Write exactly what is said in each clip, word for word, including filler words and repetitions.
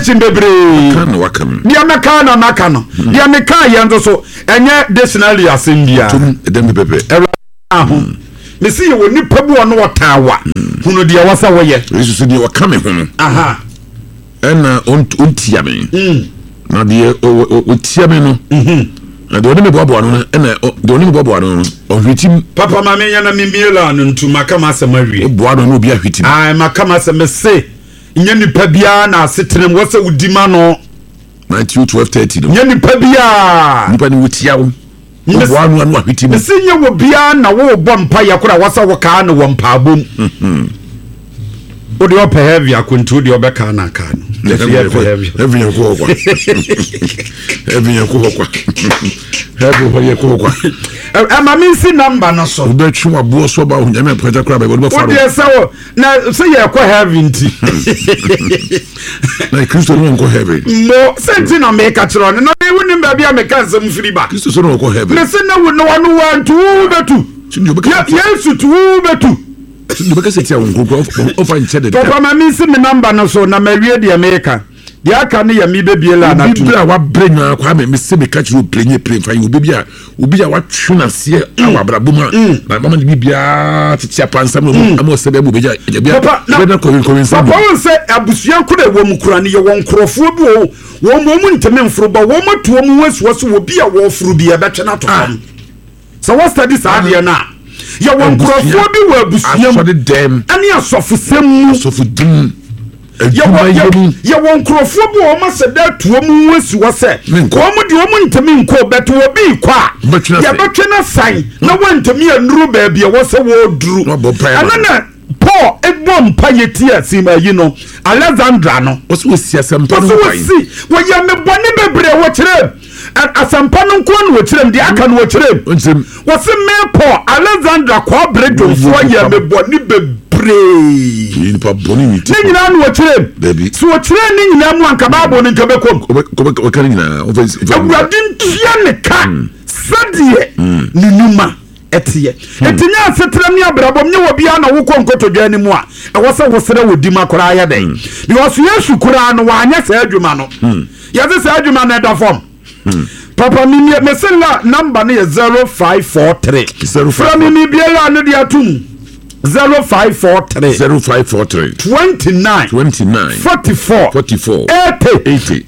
Quotation bebree. Ka na waka no. Deɛ mɛka na maka no, deɛ meka yɛ nso so ɛnyɛ dictionary asɛm biara. Tom ɛdɛm pɛpɛ. Ɛwura ho mesi yɛ wɔ nipa bi wɔ no wɔtaa wa hunu deɛ wɔ sɛ wɔyɛ. Yesu so deɛ ɔka me ho no aha ɛna ɔnt- ɔntia me, na deɛ ɔ- ɔ- ɔtia me no, na deɛ ɔne me boaboa no no ɛna ɔ- deɛ ɔne me boaboa no no ɔhwetim. Papa, ma menyɛ na memie la no ntu maka ma asɛm awie. Woboa no na obi ahwetim. Ai, maka ma asɛm mese nyɛ nipa biara na asetena mu wɔ sɛ wodi ma no. Matthew twelve thirty no. Nyɛ nipa biara. Nipa ne wotia wo, woboa no a na wahwetim. Mese nyɛ wɔ biara na wowɔbɔ mpa yɛ kora wɔ sɛ wokaa no wɔ mpaabom. Wode ɔpɛ heavy akonti, wode ɔbɛkaa no akaa no. Yɛsɛ yɛpɛ heavy. Heaven yɛ kɔ hɔ kwa, heaven yɛ kɔ hɔ kwa, heaven hɔ yɛ kɔ hɔ kwa. Ɛ- ɛma mensi number no so. Wobɛtwe waboɔ so ɔba Onyame apagya koraa baabi wɔde bɛfa no. Wodeɛ sɛ wo na sɛ yɛkɔ heaven nti. Na Kristo no wɔnkɔ heaven. Mo sɛ nti na meka kyerɛ no na wonim baabi a meka nsɛm firi ba. Kristo so na wɔkɔ heaven. Mese na wo na wano wantu wo bɛtu. Sɛ deɛ ɔbɛka Ye- yesu tu wo bɛtu. Sɛ deɛ ɔbɛka sɛ tia wo nkurokuro ɔfa nkyɛ de. Papa, ma mensi me number no so na mawie deɛ meka. Deɛ aka no yɛ mebɛbie la obi anato. bere a wabrɛ nyinaa, Kwame, mese meka kyerɛ opire nye pire mfa yi obi bi a obi a watwe n'aseɛ awɔ abrabɔ mu a na mama ne biribiara tete apansam na ɔmu ama ɔsɛ bɛɛ mu obɛgya agya bi a Papa, na- ɔbɛda kɔwe nkɔwe nsa. Papa, wo sɛ abusua koro a ɛwɔ mu kora no, yɛwɔ nkurɔfoɔ bi wɔ wɔn wɔn mu ntumi mforo ba, wɔn atu wɔn ho asi hɔ sɛ obi a wɔforo bi yɛbɛtwe no ato fam. Sɛ wɔsɛde saa adeɛ no a, yɛwɔ nkurɔfoɔ bi wɔ abusua mu asɔre dɛm ɛne asɔfosɛm mu. Asɔfo dim yɛwɔ adwuma yɛ mu. Yɛwɔ nkurɔfoɔ bi wɔ wɔn asɛ dɛ atu wɔn ho asi hɔ sɛ Menkɔ. wɔn deɛ wɔn ntumi nkɔ bɛto obi kɔ a Bɛtwe no asɛn. yɛbɛtwe no asan na wɔntumi anuru baabi a ɛwɔ sɛ wɔreduru. Na wɔabɔ mpaeɛ ama Ɛno na Paul ebɔ mpa yɛ ti asim ayi no, Alexandra no. Wɔsɛ wɔsi asɛmpa no wɔsɛ ho kwan. Wɔsi wɔyɛ me bɔne bebree, wɔkyerɛ m asɛmpa no nko na wɔkyerɛ m deɛ aka no wɔkyerɛ m. Ɔnkyerɛ Wɔsi me Paul, Alexandra kɔɔbere dwomfoɔ yɛ me bɔne bebree. Yɛ nipa bɔne ne ti. Ne nyinaa na wɔkyerɛ m. Dabi. Sɛ wɔkyerɛ ne nyinaa mu anka Bible no nka bɛkɔm. Ɔbɛka ne nyinaa ɔfɛ. Awurade ntua ne ka sɛdeɛ ne numa ɛteɛ. Ɛnti nyɛ asetena ne abrabɔm nyɛ wɔ biara na wokɔ nkotodwa no mu a ɛwɔ sɛ wosrɛ wɔ di ma koraa yɛ dɛn, because Yesu koraa no wanyɛ saa adwuma no. Yɛse saa adwuma no ɛda fam. Papa, memie mese la number no yɛ zero five four three. Frɛ me mebiara no de atom zero five four three. zero five four three. twenty-nine. twenty-nine. forty-four. forty-four. eighty. eighty.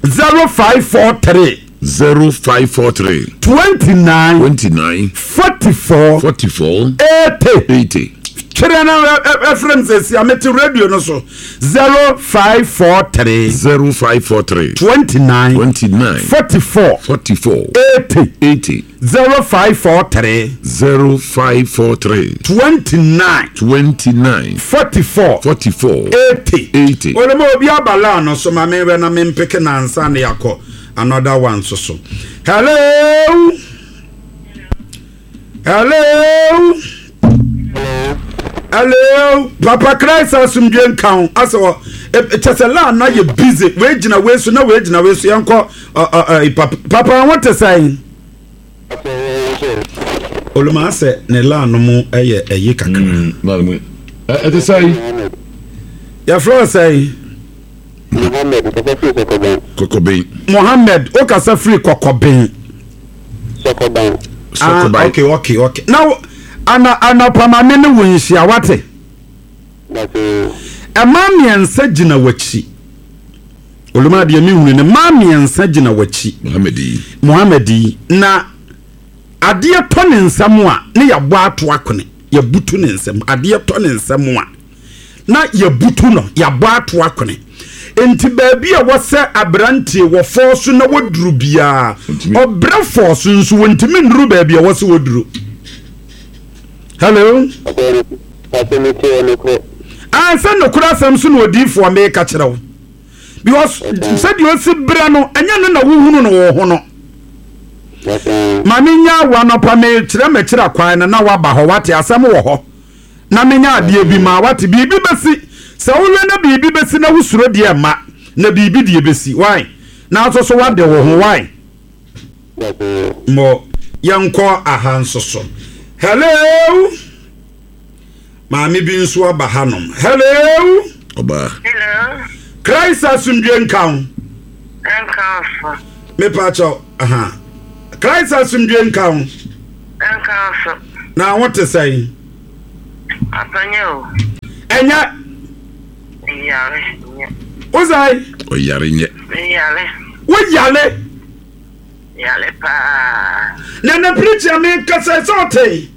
zero five four three. zero five four three. twenty-nine. twenty-nine. forty-four. forty-four. eighty. eighty. Kyerɛ no ɛfrɛ m sɛ sia mete radio no so zero five four three. zero five four three. twenty-nine. twenty-nine. forty-four. forty-four. eighty. eighty. zero five four three. zero five four three. twenty-nine. twenty-nine. forty-four. forty-four. eighty. eighty. Olùmọ̀ obi abala no so ma mewɛ na mempeke nansa ne yakɔ another one so so. Hello, hello, hello, Papa. Christ asomdwe nka ho. Asɛ wɔ kyɛ sɛ laa na yɛ busy, wei gyina wei so na wei gyina wei so. Yɛnkɔ ɔ, ɔ, ɔ, papa. Papa, ho te sɛn? Olùmọ̀ asɛ ne laa no mu ɛyɛ ɛyi kakra. Ɛte sɛ Yɛfrɛ wo sɛn? Mohammed, kɔkɔ firi Sɔkɔban. Kɔkɔbɛn. Mohammed, wokasa firi Kɔkɔbɛn? Sɔkɔban. Ah, Sɔkɔban. okay okay okay na wo- ana anɔpamame ne wo nhyia wate. Bàtɛ. Ɛmaa mmiɛnsa gyina w'akyi. Oluma deɛ mehunu ne mmaa mmiɛnsa gyina w'akyi. Mohammed yi. Mohammed yi na adeɛ tɔ ne nsam a ne yɛabɔ ato akone, yɛbutu ne nsam. Adeɛ tɔ ne nsam a na yɛbutu no, yɛabɔ ato akone. Nti baabi a wɔsɛ aberanteɛ wɔ fɔɔ so na wɔduru biara Ntumi. Ɔbrɛ fɔɔ so nso wɔntumi nnuru baabi a wɔsɛ wɔduru. Hello. Bàtɛ mi tiɛ ne korɛ. Ah, sɛ nokorɛ asɛm so na odiifoɔ meka kyerɛ wo, because sɛdeɛ ɔsi berɛ no ɛnyɛ no na wohunu no wɔ ho no. Bàtɛ. Ma menya awo anɔpa mekyerɛ mɛkyerɛ kwan no na woaba hɔ wate asɛm wɔ hɔ na menya adeɛ bi ma wate. Biribi bɛsi sɛ wohwɛ na biribi bɛsi na wosuro deɛ ma na biribi deɛ bɛsi wae na nso so wade wo ho wae. Bàtɛ. Mmɔ yɛnkɔ aha nso so. Hello, maame bi nso aba hanom. Hello. Ɔbaa. Hello. Christ asomdwe nka wo. Nka wo so. Mepa kyɛw, aha. Christ asomdwe nka wo. Nka wo so. Na wo te sɛn? Apanyɛ o. Ɛnyɛ. Yare nyɛ. Wo sɛn? Ɔyare nyɛ. Yare. Wo yale. Yare paa. Na na preacher me nkasa sɛ ɔte.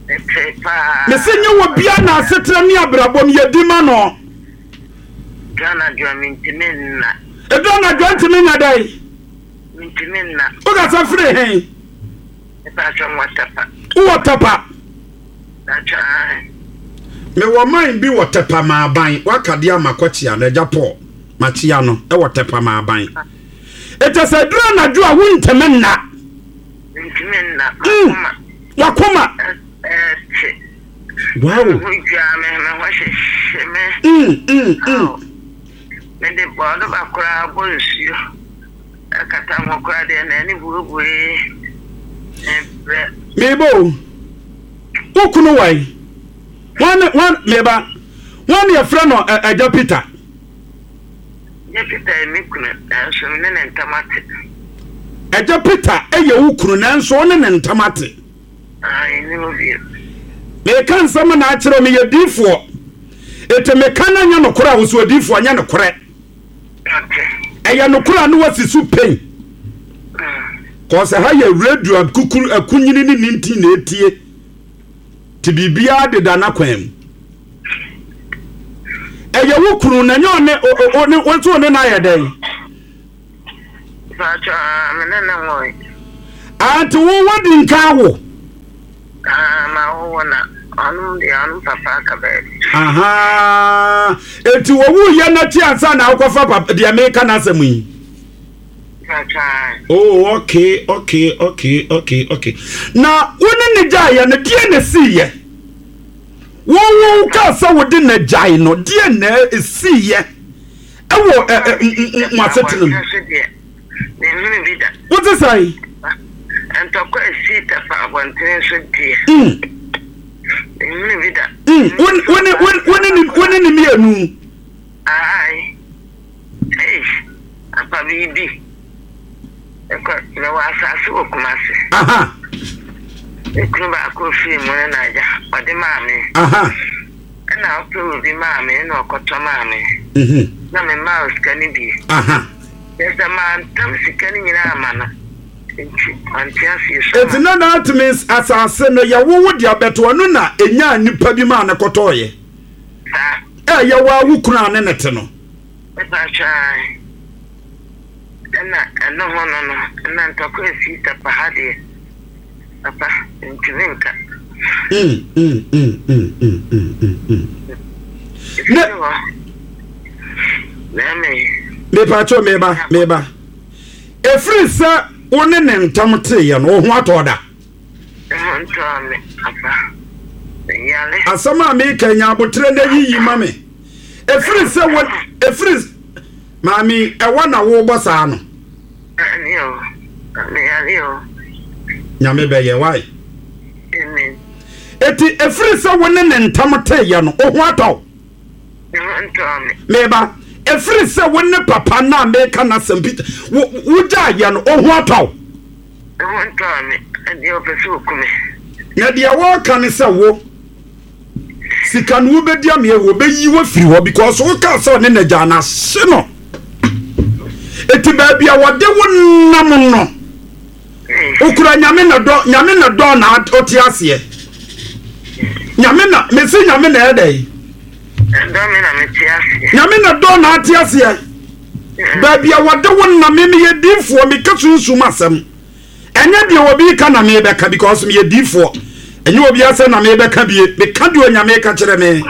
Mete paa. Mese nyɛ wɔ bia na asetena ne abrabɔ m yɛdi ma no. Dwa mentumi nna. Ɛdɔ anadwo ntumi nya dɛn? Mentumi nna. Wokasa firi he? Mepa kyɛw wɔ Tɛpa. Wowɔ Tɛpa? Atwa. Mewɔ man bi wɔ Tɛpa maaban. Waka deɛ ama kɔkyea no, agya Paul. Makyea no, ɛwɔ Tɛpa maaban. Ɛkyɛ sɛ duru anadwo a wontumi nna. Mentumi nna. Mm. Makoma. Wakoma. Ɛte. Wow. Me ho dwa me, me ho hyehyɛ me. Mm, mm, mm. Mede bɔɔdo ba koraa bɔ nsuo. Ɛkata ho koraa deɛ na ani buebue. Mebrɛ. Meba o. Wo kunu wae. Wan wan meba. Wan yɛfrɛ no ɛ- agya Peter. Gye Peter yɛ me kunu nanso me ne ne ntam ate. Agya Peter ɛyɛ wo kunu nanso wo ne ne ntam ate. Ah, ɛni hɔ bio. Meka nsɛm na akyerɛ me yɛ diifoɔ. Eti meka na nyɛ nokorɛ a wo so odiifoɔ nyɛ nokorɛ. Ate. Ɛyɛ nokorɛ a ne wasi so pɛn. Mm. Kɔsɛ ha yɛ radio akukuru akunyini ne ne nti na etie. Te biribiara deda n'akwan mu. Ɛyɛ wo kunu na nyɛ ɔne o o o ne wo nso ne no ayɛ dɛn? Paatwa, me ne ne nwoe. Ante wo wadi nka wo. Ah, ma wowo na ɔnom deɛ ɔnom papa aka baabi. Aha. Eti owu yɛ n'akyi ansa na akɔfa papa deɛ meka n'asɛm yi. Paatwa, Oh, okay, okay, okay, okay, okay. Na wo ne ne gyaeɛ no deɛ na esiiɛ? Wo wo kaa sɛ wode na gyae no deɛ na esiiɛ? Ɛwɔ ɛ ɛ m- m- mo asetena mu. Abɔnten so deɛ, menhunu bi da. Wote sɛn? Ntɔkwa esi Tɛpa abɔnten so deɛ, Mm, menhunu bi da. mm. Wo wo ne wo wo ne ne wo ne ne mmienu. Ae. Ei, apa biribi. Ɛkɔ, mewɔ asase wɔ Kumase. Aha, Me kunu baako firi mu no na agya, ɔde maa me. aha. Ɛna ɔpɛ obi maa me, ɛna ɔkɔtɔ maa me. Mhm. Na memaa wo sika no bi. Aha. Kyerɛ sɛ mantam sika no nyinaa ama no. Nti, ɔnte aseɛ so Eti na that means asase no yɛwowo de abɛto ɔno na enya nipa bi maa ne kɔtɔɔyɛ. Saa, Ɛyɛ wo a wo kunu a ne ne te no. mepa atwa. Ɛna ɛno ho no no, ɛna ntɔkwa esi Tɛpa ha deɛ. Papa, ntumi nka. Mm, mm, mm, mm, mm, mm, mm, mm. Ɛfiri hɔ. Bɛrima yi, Mepatwo meba meba. Efiri sɛ wo ne ne ntam teeɛ no wo ho atɔ da. ɛho ntɔɔ me, papa. Meyare. Asɛm a meka nya abotrɛ na yiyi ma me. Efiri sɛ wo efiri maame ɛwɔ na wobɔ saa no. Ɛne o, meyare o. Nyame bɛyɛ wae. Amen. Eti efiri sɛ wo ne ne ntam teeɛ no wo ho atɔ wo. Ɛho ntɔɔ me. Meba efiri sɛ wo ne papa na meka n'asɛm Peter wo wogyaeɛ no wo ho atɔ wo. Ɛho ntɔɔ me. Ɛdeɛ ɔpɛ sɛ oku me. Na deɛ wɔreka ne sɛ wo sika no wobɛdi ameɛ wɔbɛyi wo afiri hɔ because wokaa sɛ ɔne n'agya no ahye no. Eti baabi a wɔde wo nam no okura nyame na dɔ nyame na dɔ na ɔte aseɛ. Nyame na mesi nyame na ɛdɛ. Ɛdɔ me na mete aseɛ. Nyame na dɔ na ate aseɛ. Baabi a wɔde wo nam me meyɛ diifoɔ meka sunsum asɛm. Ɛnyɛ deɛ obi ka na mebɛka because meyɛ diifoɔ. Ɛnyɛ obi asɛm na mebɛka bie. Meka deɛ onyame ka kyerɛ me.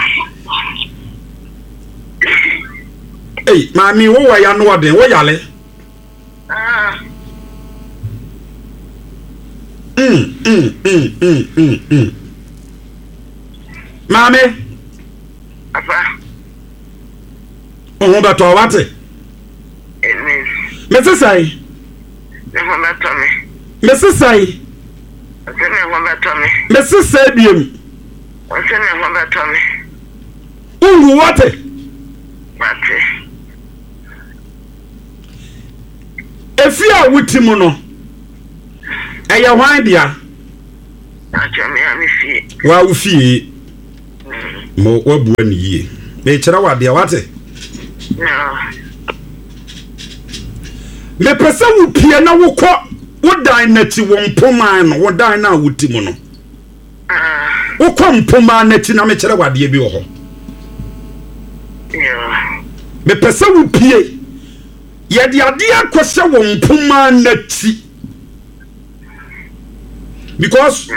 Ei, maame wowɔ ya no ɔden, wo yale. Ah, Mm, mm, mm, mm, mm, mm. Maame, papa. wo ho bɛtɔ wate. Amen. Mese sɛn? Me ho bɛtɔ me. Mese sɛn? Ɔsɛ me ho bɛtɔ me. Mese sɛn biem? Ɔsɛ me ho bɛtɔ me. Wonwu wate. Mate. Efi a wuti mu no, ɛyɛ hwan dea? Wa wo fie. Mo wabua ne yie. Mekyerɛ wo adeɛ, wate? Mepɛ sɛ wopie na wokɔ wo dan n'akyi, wo mpoman no, wo dan no a woti mu no. Wokɔ mpoman n'akyi na mekyerɛ wo adeɛ bi wɔ hɔ. Mepɛ sɛ wopie. Yɛde adeɛ akɔhyɛ wo mpoman n'akyi. Because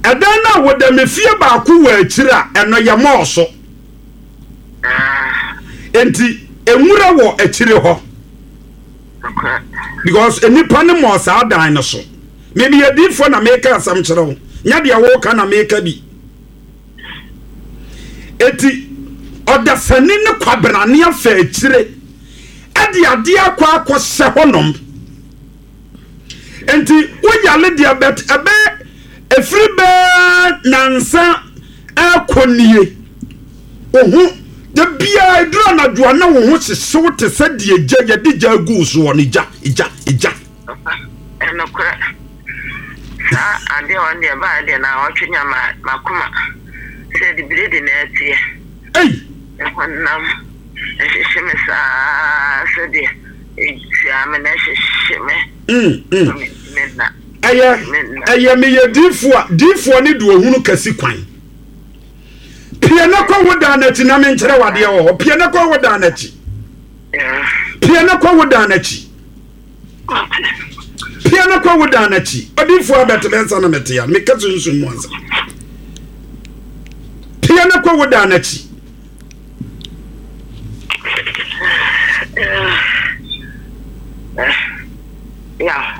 ɛdan no a wɔda me fie baako wɔ akyiri a ɛno yɛ mɔɔso. Enti nwura wɔ akyire hɔ. Because nnipa no mɔɔ saa dan no so. Mimi yɛ diifoɔ na meka asɛm kyerɛ wo. Nyɛ deɛ woka na meka bi. Enti ɔdasani ne kwabrane afa akyire ɛde adeɛ akɔ akɔhyɛ hɔnom. Enti woyale deɛ bɛt ɛbɛ efiri bɛɛ nansa ɛkɔ nie. Oho da biara eduru anadwo a na wo ho hyehyew te sɛ deɛ gya yɛde gya agu soɔ no, gya gya gya. Ɛnokorɛ saa adeɛ wɔn deɛ baa deɛ na ɔtwe nya ma makoma sɛ de biredi na ɛteɛ. Ei! Ɛhɔnam ɛhyehye me saa sɛdeɛ ɛtua me na ɛhyehye me. Mm, mm. Ɛyɛ ɛyɛ meyɛ diifoɔ a diifoɔ ne de ohunu kɛse kwan. Pie na kɔ wo dan n'akyi na menkyerɛ wadeɛ wɔ hɔ. Pie na kɔ wo dan n'akyi. Pie na kɔ wo dan n'akyi. Pie na kɔ wo dan n'akyi. Odiifoɔ abɛtebɛ nsa na mete ya. Meka sunsun mu ansa. Pie na kɔ wo dan n'akyi. Yeah.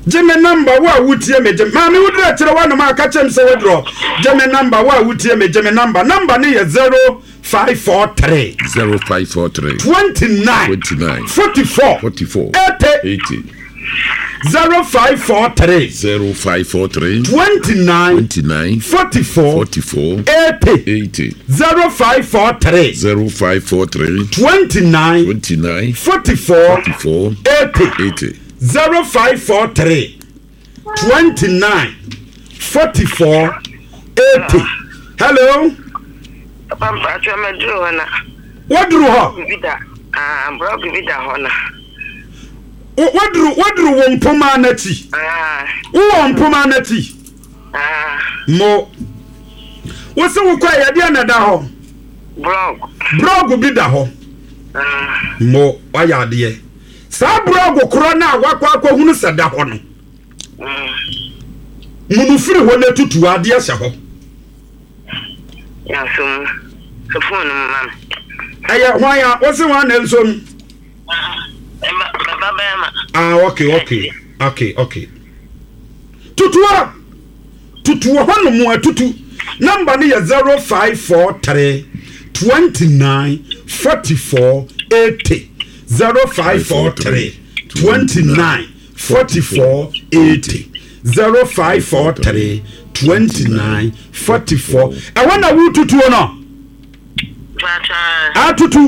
Gye me namba wo a wotie me gye maame wo dura kyerɛ w'anom a ka kyerɛ m sɛ wodurɔ. Gye me namba wo a wotie me gye me namba. Namba ne yɛ zero five four three zero five four three twenty nine twenty nine forty four forty four eighty eighty zero five four three zero five four three twenty nine twenty nine forty four forty four eighty eighty zero five four three zero five four three twenty nine twenty nine forty four forty four eighty eighty zero five four three twenty nine forty four eighty. Hello. Papa mpatsɔ mɛduru hɔ na. Waduru hɔ. Bibi da ah blɔk bi da hɔ na. Waduru waduru wɔ mpoma n'akyi. Wowɔ mpoma n'akyi. Mo. Wosi wokɔ yɛdeɛ na da hɔ. Blɔk. Blɔk bi da hɔ. Mo wayɛ adeɛ. Saa blɔk korɔ no a wakɔ akɔhunu sɛ da hɔ no. Munu firi hɔ na tutu adeɛ hyɛ hɔ. Ya so mu. So phone mu ma me. Ɛyɛ hwan a wosi hwan na nso mu? Ah, okay, okay, okay, okay. Tutua, tutua hɔ nom atutu. Number no yɛ zero five four three twenty nine forty four eighty zero five four three twenty nine forty four eighty zero five four three twenty nine forty four. Ɛwɔ na wo tutuo no. Atutu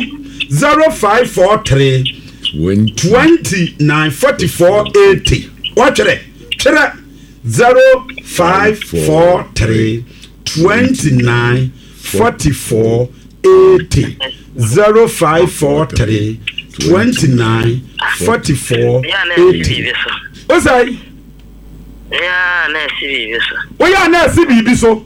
zero five four three twenty nine forty four eighty. Watwerɛ twerɛ zero five four three twenty nine forty four eighty zero five four three twenty nine forty four eighty. O sɛ. Yeah, na esi biribi so. Oya na esi biribi so.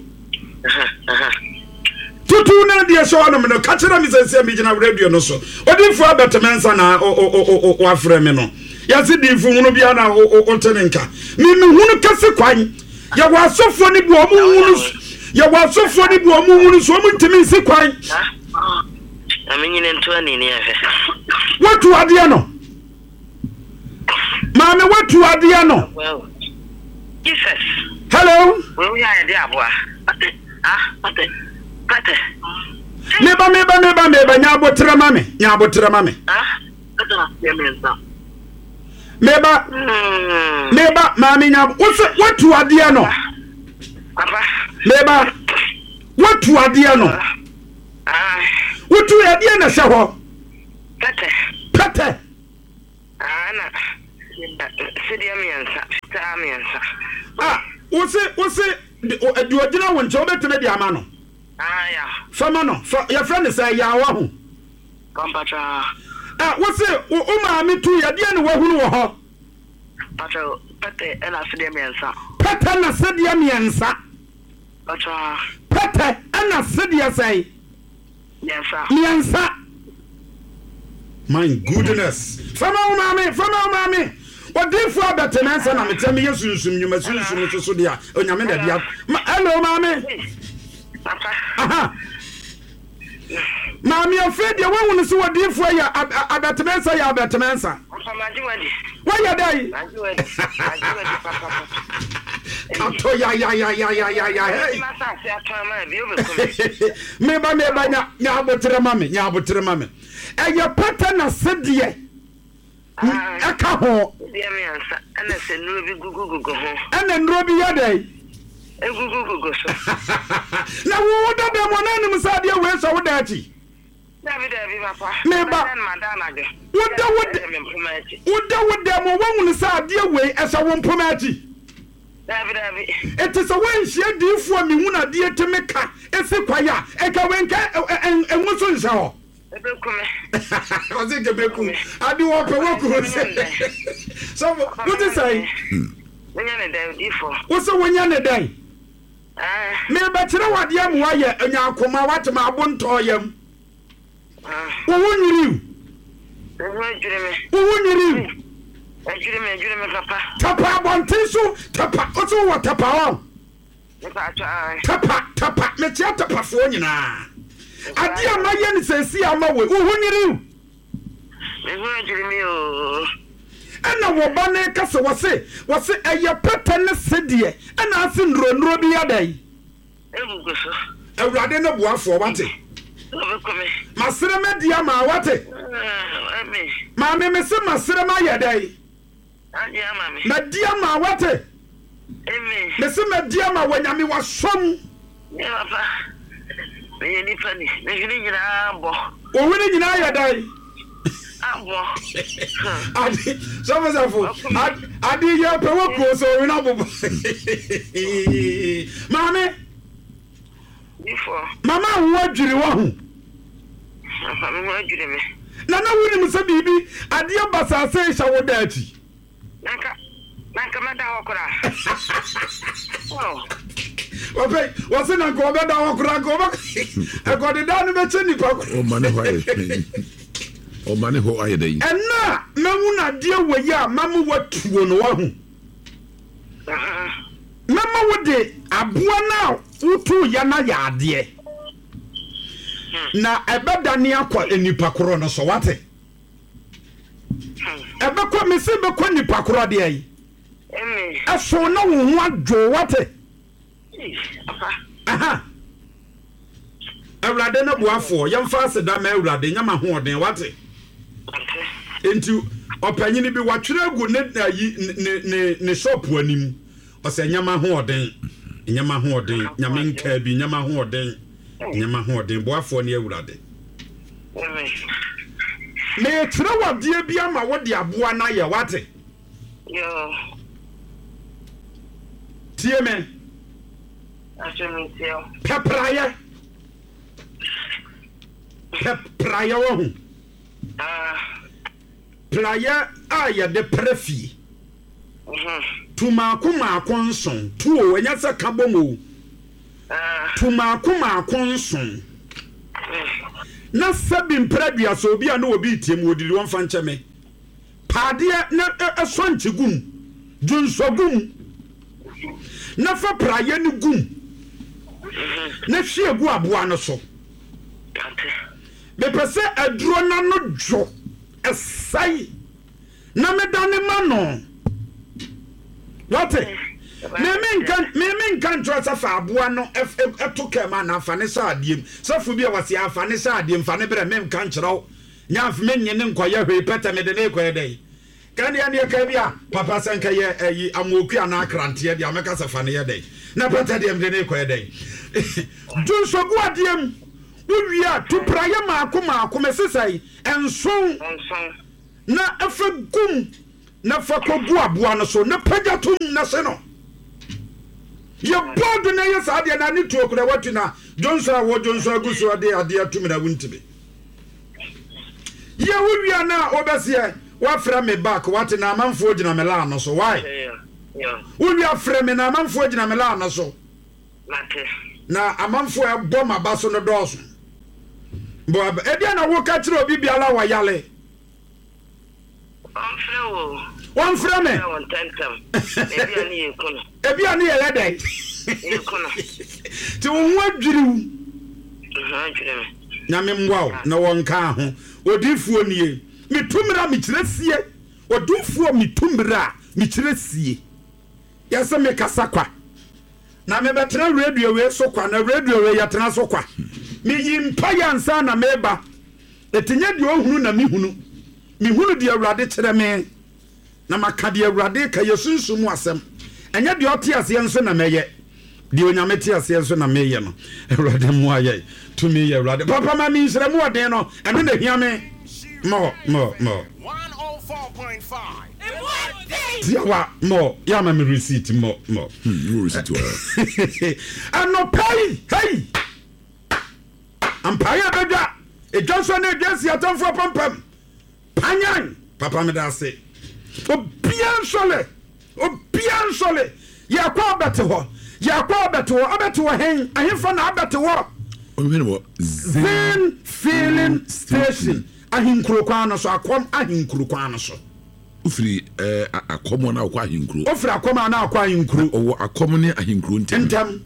Tutu na deɛ hyɛ ɔnom no ka kyerɛ me sɛ sɛ megyina radio no so. Odifo abɛteme nsa na wafrɛ me no. Yɛse difo hunu bia na wote ne nka. Memehunu kɛse kwan. Yɛwɔ asɔfoɔ ne bi ɔmo hunu. Yɛwɔ asɔfoɔ ne bi ɔmo hunu so ɔmo ntumi nsi kwan. Na menyine nto ani ne ɛhwɛ. Watu adeɛ no. Maame watu adeɛ no. Jesus. Hello. We are the aboa. Ah, pate. Pate. Meba meba meba meba nya abotre ma me. Nya abotre ma me. Ah, Meba. Meba maame nya wo se watu adeɛ no. Papa. Meba. Watu Woatu adeɛ no. Wotu adeɛ na hyɛ hɔ. Pɛtɛ. Pɛtɛ. Ah, na sedeɛ mmiɛnsa, fitaa mmiɛnsa. Ah, wose wose deɛ ogyina wo nkyɛn wobɛtumi de ama no. Ah, ya. Fama no, fa yɛfrɛ no sɛ yaawa ho. Pampatra. Ah, wose wo maame tu yadeɛ na wahunu wɔ hɔ. Patra, pɛtɛ ɛna sedeɛ mmiɛnsa. Pɛtɛ na sedeɛ mmiɛnsa. Patra. Pɛtɛ ɛna sedeɛ sɛn. Mmiɛnsa. Mmiɛnsa. My goodness. Fama wo maame, fama wo maame. Odifo abɛte na nsa na mekyɛ me yɛ sunsum nnwuma sunsum nso so deɛ onyame na dia. Hello maame. Papa. Aha. Maame afei deɛ woahunu sɛ odifo yɛ abɛteme nsa yɛ abɛteme nsa. Papa magye wadi. Woyɛ dɛn? Magye wadi. Magye wadi papa. Kato ya ya ya ya ya ya ya hey. Meba meba nya nya abotere ma me, nya abotere ma me. Ɛyɛ pɛtɛ na sedeɛ. Ɛka ho. Deɛ mmiɛnsa ɛna sɛ nnuro bi gugu gugu ho. Ɛna nnuro bi yɛ dɛn? Egugu gugu so. Na wo wo dada mu na anim sɛ adeɛ wei sɛ wo da akyi. Dabi dabi papa. Meba. Woda wo da. Woda wo da mu wɔhunu sɛ adeɛ wei ɛhyɛ wo mpoma akyi. Dabi dabi. Eti sɛ wɔnhyia diifoɔ mihunu adeɛ tumi ka esi kwae a ɛka wei nka ɛnwo so nhyɛ hɔ. Ebekume. Ɔse kebeku. Ade wɔ pɛ wɔ kuro sɛ. So what is say? Wonya ne dɛn odifo. Wo se wonya ne dɛn? Ah. Me be kyerɛ wade amu ayɛ anya akoma wate ma abo ntɔ yam. Wo wo nwiriw. Wo ho adwiri me. Wo wo nwiriw. Adwiri me adwiri me papa. Tapa abɔnten so tapa wo se wo tapa hɔ. Nipa atwa. Tapa tapa me kyerɛ tapafoɔ nyinaa. Ade a mayɛ no sɛsi ama wo wo ho nwiriw. Me ho adwiri me o. Ɛna wɔ ba ne ka sɛ wɔse wɔse ɛyɛ pɛtɛ ne sedeɛ ɛna ase nnuro bi yɛ dɛn. Egugu so. Awurade ne boafoɔ wate. Masere me di ama wate. Maame me se masere ma yɛ dɛn. Ma di ama wate. Me se ma di ama wanyame wasom. Me papa. Me yɛ nipa ni. Me hwene nyinaa bɔ. Wo hwene nyinaa yɛ dɛn. Abo. Adi sɔfo sɔfo adi yɛ pɛ wɔ kuo so owina bobo. Maame. Mama wo adwiri wɔ ho. Mama wo adwiri me. Na na wo nim sɛ biribi adeɛ basase hyɛ wo da akyi. Nanka nanka mɛda hɔ koraa. Wɔpɛ wɔse nanka wɔbɛda hɔ koraa nka wɔbɛ ɛkɔdeda no bɛkyɛ nipa koraa. Ɔma ne hɔ ayɛ. Ɔma ne hɔ ayɛ dɛn. Ɛna mɛwu na adeɛ wɔ yi a mama watuo no wahu. Mɛma wo de aboa na wotu ya na yɛ adeɛ. Na ɛbɛda ne akɔ nipa korɔ no so wate. Ɛbɛkɔ mesi bɛkɔ nipa korɔ deɛ yi. Ɛso na wo ho adwo wate. Aha. Awurade ne boafoɔ yɛmfa aseda ma Awurade nyama hoɔden wate. Enti ɔpanyini bi watwerɛ agu ne ayi ne ne ne shop anim. Ɔsɛ nyama hoɔden. Nyama hoɔden. Nyame nka bi nyama hoɔden. Nyama hoɔden boafoɔ ne Awurade. Me kyerɛ wadeɛ bi ama wo de aboa na yɛ wate. Yo. Tie me. Pɛprayɛ. Pɛprayɛ wɔ ho. Prayɛ a yɛde prɛ fie. Tu maako maako nson. Tu o ɛnyɛ sɛ ka bɔ mu o. Tu maako maako nson. Na sɛbi mpere aduasa obi a na obi tie mu odidi wɔn fa nkyɛ me. Paadeɛ na ɛsɔ nkye gum. Dwonsɔ gum. Na fa prayɛ no gum. Na hwie gu aboa no so. Mepɛ sɛ aduro na no dwo ɛsɛe na meda ne ma no. Wate? Me nka me me nka nkyerɛ sɛ fa aboa no ɛto kɛma na afa ne sɛ adeɛ mu. Sɛfo bi a wɔse afa ne sɛ adeɛ mu fa ne brɛ me nka nkyerɛ wo. Nya me nye ne nkɔyɛ hwee pɛtɛ me de ne kɔyɛ dɛn. Kan deɛ ne ka bi a papa sɛ nka yɛ ayi amoku ana akranteɛ deɛ amɛka sɛ fa ne yɛ dɛn. Na pɛtɛ deɛ me de ne kɔyɛ dɛn. Dwonsɔ gu adeɛ mu. Wowie a, tu praeɛ maako maako, mese sɛn? Nson. Nson. Na fa gum na fa kɔgu aboa no so na pagya tom na hye no. Yɛ bɔɔdo na yɛ saa adeɛ na ne tuo kora watu na dwonsɔ a wɔdwonsɔ agu so de adeɛ atum na wontumi. Yɛ wowie a na wobɛseɛ woafrɛ me back, wate, na amanfoɔ gyina me laa no so. Why? Wowie afrɛ me na amanfoɔ gyina me laa no so. Mate. Na amanfoɔ a ɛbɔ m'aba so no dɔɔso. Bɔ aba. Ebia na woka kyerɛ obi biara wɔ yale. Ɔmfrɛ wo. Wɔmfrɛ me. Ɔmfrɛ wo ntɛmntɛm. Ebi a ne yɛ ku no. Ebi a ne yɛyɛ dɛn? Yɛ ku no. Nti wo ho adwiri wo. Ho adwiri me. Nyame mmoa wo na wɔnka ho. Odiifoɔ nie. Metu mmerɛ a mekyerɛ sie. Odiifoɔ metu mmerɛ a mekyerɛ sie. Yɛsɛ mekasa kwa. Na mebɛtena radio wei so kwa, na radio wei yɛtena so kwa. Meyi mpaeɛ ansa na meba. Ɛti nyɛ deɛ ɔhunu na mehunu. Mehunu deɛ Awurade kyerɛ me. Na maka deɛ Awurade ka, yɛ sunsum mu asɛm. Ɛnyɛ deɛ ɔte aseɛ nso na mɛyɛ. Deɛ Onyame te aseɛ nso na meyɛ no. Awurade mmoa yɛ. Tumi yɛ Awurade. Papa ma me nhyira mu ɔden no. Ɛno na ehia me. Mɔ mɔ mɔ. Tiawa mɔ yɛ me receipt mɔ mɔ. Hmm, receipt wɔ. Anɔpa yi, hey! Ampaeɛ bɛdwa. Edwa nso na edwa si atamfoɔ pampam. Panyan. Papa me da ase. Obia nsɔle. Obia nsɔle. Yɛkɔ abɛte hɔ. Yɛkɔ abɛte hɔ. Abɛte hɔ hen. Ahemfa na abɛte hɔ. Ɔhwɛ wɔ Zin Filling Station. Ahenkuro kwan no so. Akɔm ahenkuro kwan no so. Wofiri ɛɛ akɔm na akɔ ahenkuro. Ofiri akɔm a na akɔ ahenkuro. Ɔwɔ akɔm ne ahenkuro ntɛm. Ntɛm.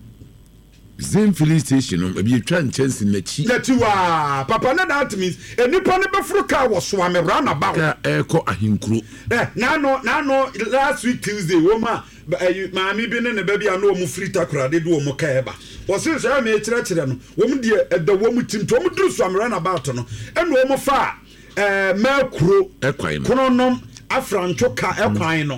Zin Filling Station no, ebi etwa nkyɛnse n'akyi. N'akyi waa. Papa ne that means enipa ne bɛforo kaa wɔ Soame roundabout. Kaa ɛɛkɔ ahenkuro. Ɛ n'ano n'ano last week Tuesday wɔn a ɛyi maame bi ne ne ba bi a na wɔn firi Takoradi de wɔn kaa ɛba. Wɔsi sɛ ɛmɛ kyerɛkyerɛ no, wɔn deɛ ɛda wɔn ti nti wɔn duru Soame roundabout no, ɛna wɔn fa ɛɛ mɛkuro Ɛkwan no. Kronom afrantwo ka ɛkwan no,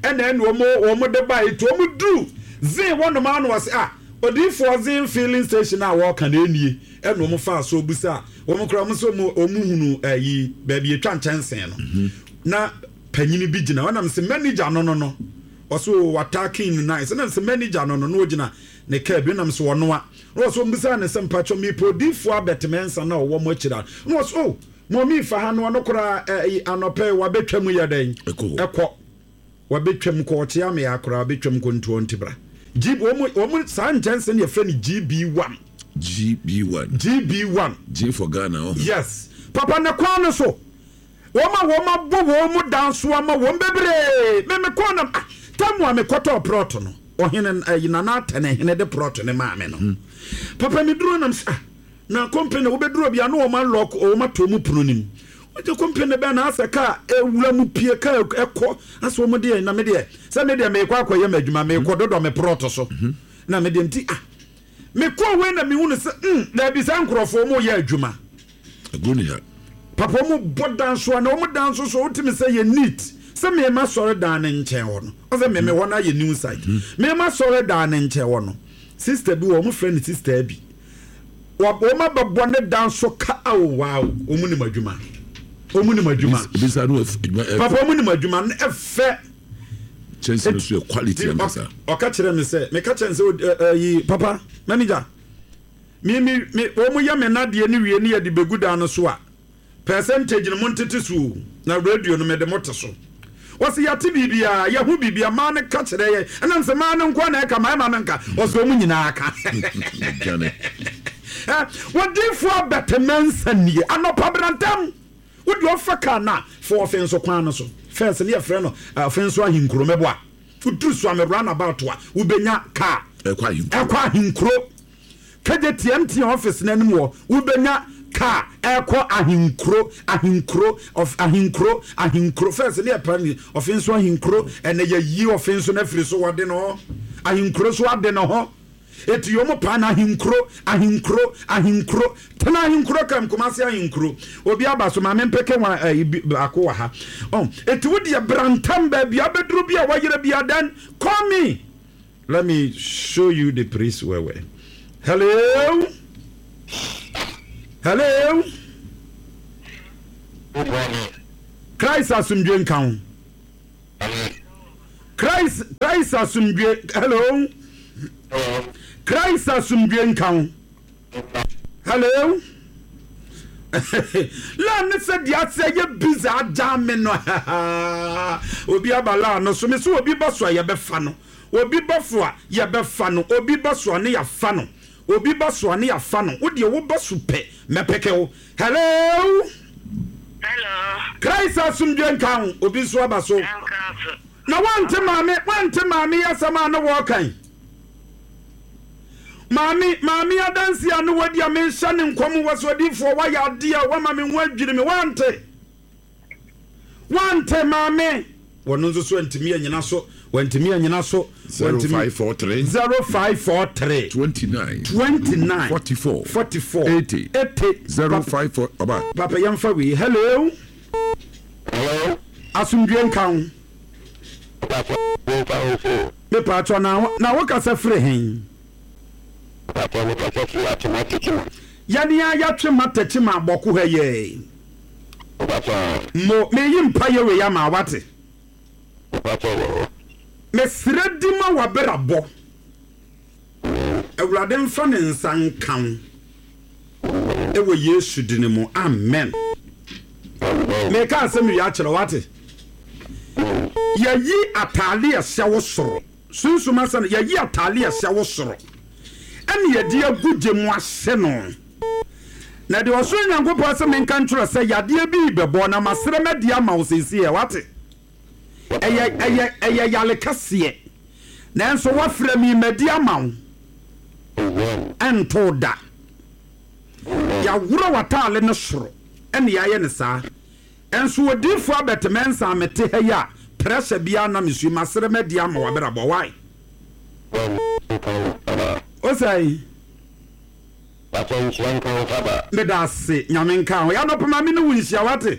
ɛna ɛna wɔn wɔn de ba yi nti wɔn duru Zin wɔnom ano wɔsi ah, odiifoɔ Zin Filling Station a wɔɔka na enie. Ɛna wɔn fa so busa wɔn kora wɔn nso wɔn hunu ɛyi baabi etwa nkyɛnsee no na panyini bi gyina ɔnam sɛ manager no no no ɔso wataakin no nice, ɛnam sɛ manager no no na ogyina ne kaa bi nam sɛ ɔnoa na ɔso mbisa ne sɛ, mpatwɔ mi odiifoɔ abɛtɛmɛnsa na ɔwɔ mo akyire a, na ɔso oh, mɔmi fa ha no, ɔno koraa ɛyi anɔpɛ wabɛtwa mu yɛ dɛn? Ɛkɔ hɔ. Ɛkɔ wabɛtwam kɔ ɔkyea me akora wabɛtwam kɔ ntuo ntibra G wɔn wɔn saa nkyɛnse no yɛfrɛ no G B one. G B one. G B one. G for Ghana ɔho. Yes papa, ne kwan no so wɔn a wɔn abɔ wɔn mu dan so ama wɔn bebree. Me me kɔn nam ah, tamu a mekɔtɔɔ plot no, ɔhene ɛyi Nana Atɛnɛ hene de plot ne maame no, papa mi duro nam sɛ ah, na company wobɛduro bi a na wɔn alɔk wɔn ato mu pono nim wogye company bɛn na asɛ kaa ewura mu pie, kaa ɛkɔ asɛ wɔn deɛ, na me deɛ sɛ me deɛ mekɔ akɔyɛ m'adwuma, mekɔ dodɔ me plot so na me deɛ nti ah, mekɔ wei na mehu no sɛ mm daabi, saa nkurɔfoɔ mo yɛ adwuma. Agorɔ ni ha. Papa, wɔn bɔ dan so a na wɔn dan so so wotumi sɛ yɛ neat sɛ mmarima sɔre dan ne nkyɛn hɔ no, ɔsɛ mmɛmɛ hɔ no ayɛ new site. Mmarima sɔre dan ne nkyɛn hɔ no, sister bi wɔ wɔn frɛ no sister bi, wɔn abɛbɔ ne dan so ka awo waaw, wɔn nim adwuma, wɔn nim adwuma. Ebi sa no adwuma ɛ. Papa, wɔn nim adwuma no ɛfɛ. Kyɛnse no so yɛ quality ankasa. Ɔka kyerɛ me sɛ meka kyerɛ no sɛ ɛ ɛyi papa manager mi mi mi wɔn yɛ me nadeɛ ne wie ne yɛde begu dan no so a, percentage no mo ntete so o, na radio no mede mo te so. Wɔsi yɛate biribiara, yɛho biribiara, maa no ka kyerɛ yɛ, ɛnam sɛ maa no nko na ɛka maa ɛma no nka wɔsɛ wɔn nyinaa ka. Dwane. Ɛ wɔdiifoɔ abɛtɛmɛnsa nie anɔpa brantam wode ɔfa kaa na fa ɔfe nso kwan no so first ne yɛfrɛ no ɔfe nso ahenkuro mɛboa woduru so ame roundabout a wobɛnya kaa. Ɛkɔ ahenkuro. Ɛkɔ ahenkuro kagye T M T office n'anim wɔ wobɛnya kaa ɛkɔ ahenkuro ahenkuro of ahenkuro ahenkuro first ne yɛpɛ ne ɔfe nso ahenkuro, ɛnɛ yɛyi ɔfe nso no afiri so, wɔde no hɔ ahenkuro so ade ne ho eti wɔn paa na ahenkuro ahenkuro ahenkuro tena ahenkuro kam Kumase ahenkuro obi aba so maame mpeke wɔn ɛyi bi baako wɔ ha ɔn eti wo deɛ brantam baabi abɛduru bi a wɔyerɛ bi adan, call me, let me show you the place where where Hello, hello. Christ asomdwe nka ho. Christ, Christ asomdwe. Hello, Christ asomdwe nka ho. Hello. Laa ne sɛ deɛ asɛ yɛ busy agya me no. Obi aba laa no so. Me so obi ba so a, yɛbɛfa no. Obi ba so a, yɛbɛfa no. Obi ba so a, ne yɛafa no. Obi ba so a, ne yɛafa no. Wodeɛ woba so pɛ, mɛpɛkɛ wo. Hello. Hello. Christ asomdwe nka ho. Obi nso aba so. Nka so. Na wante maame, wante maame yɛ asɛm a ne wɔɔkan. Maame, maame adansi a ne wadi a menhyɛ ne nkɔm wɔ so. Odiifoɔ, wayɛ adeɛ a wama me ho adwiri me. Wante, wante maame. Wɔno nso so antumi anyina so, wantumi anyina so. Zero five four three. Zero five four three. Twenty nine. Twenty nine. Forty four. Forty four. Eighty. Eighty. Zero five four. Ɔba. Papa, yɛmfa wei. Hello. Hello. Asomdwe nka ho. Papa, nka wo so. Mepaatɔ, na na wokasa firi hen? Papa, mekasa firi Atwima Techiman. Yɛne a yɛatwe ma tɛkyi ma abɔko ha yɛ. Papa, mo meyi mpa yɛ wei ama wate. Papa wɔ hɔ. Mesrɛ di ma wabrabɔ, Awurade mfa ne nsa nka wo ɛwɔ Yesu dini mu, amen. Meka asɛm wie akyerɛ wate. Yɛyi ataale ɛhyɛ wo soro, sunsum asɛm no, yɛyi ataale ɛhyɛ wo soro ɛne yɛde agu gye mu ahyɛ no. Na deɛ ɔsoro Nyankopɔn sɛ menka nkyerɛ sɛ yadeɛ bi bɛbɔ na masrɛ madi ama wo seesei ɛ, wate? Ɛyɛ ɛyɛ ɛyɛ yale kɛseɛ, nanso wafrɛ mi, madi ama wo. Ɛnto da yɛaworɔ w'ataale no soro ɛne yɛayɛ ne saa. Ɛnso odiifoɔ abɛtɛmɛ a mete ha yi a, pressure biara na mesu masrɛ madi ama wabrabɔ wae. O sɛe. Papa, nhyira nka wo faba. Meda ase, Nyame nka ho. Yɛanɔpema me ne wo nhyia, wate?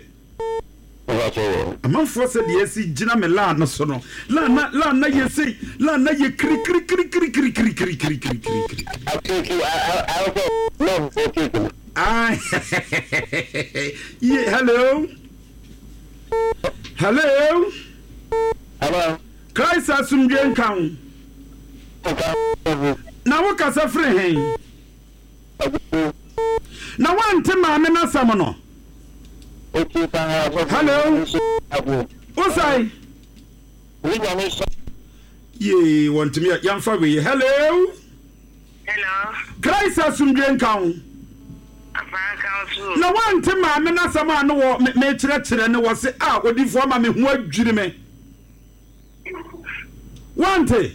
Papa wɔ. Amanfoɔ sɛ deɛ ɛsi gyina me laa no so no, laa na laa na yɛ sei, laa na yɛ kirikirikirikirikirikirikirikirikiri. Akeke awɔ love for cake no. Ah, yeah, hello, hello. Hello. Christ asomdwe nka ho. Nka wo. Na wokasa firi hen? Na woante maame no asɛm no? Eti paa. Hello. Wosae? Wo Nyame hyɛ. Yee, wɔntumi yɛ. Yɛmfa wei. Hello. Hello. Christ asomdwe nka ho. Papa, nka wo so. Na woante maame no asɛm a ne wɔ me- mekyerɛkyerɛ ne wɔ se a odifoɔ ma me ho adwiri me, woante?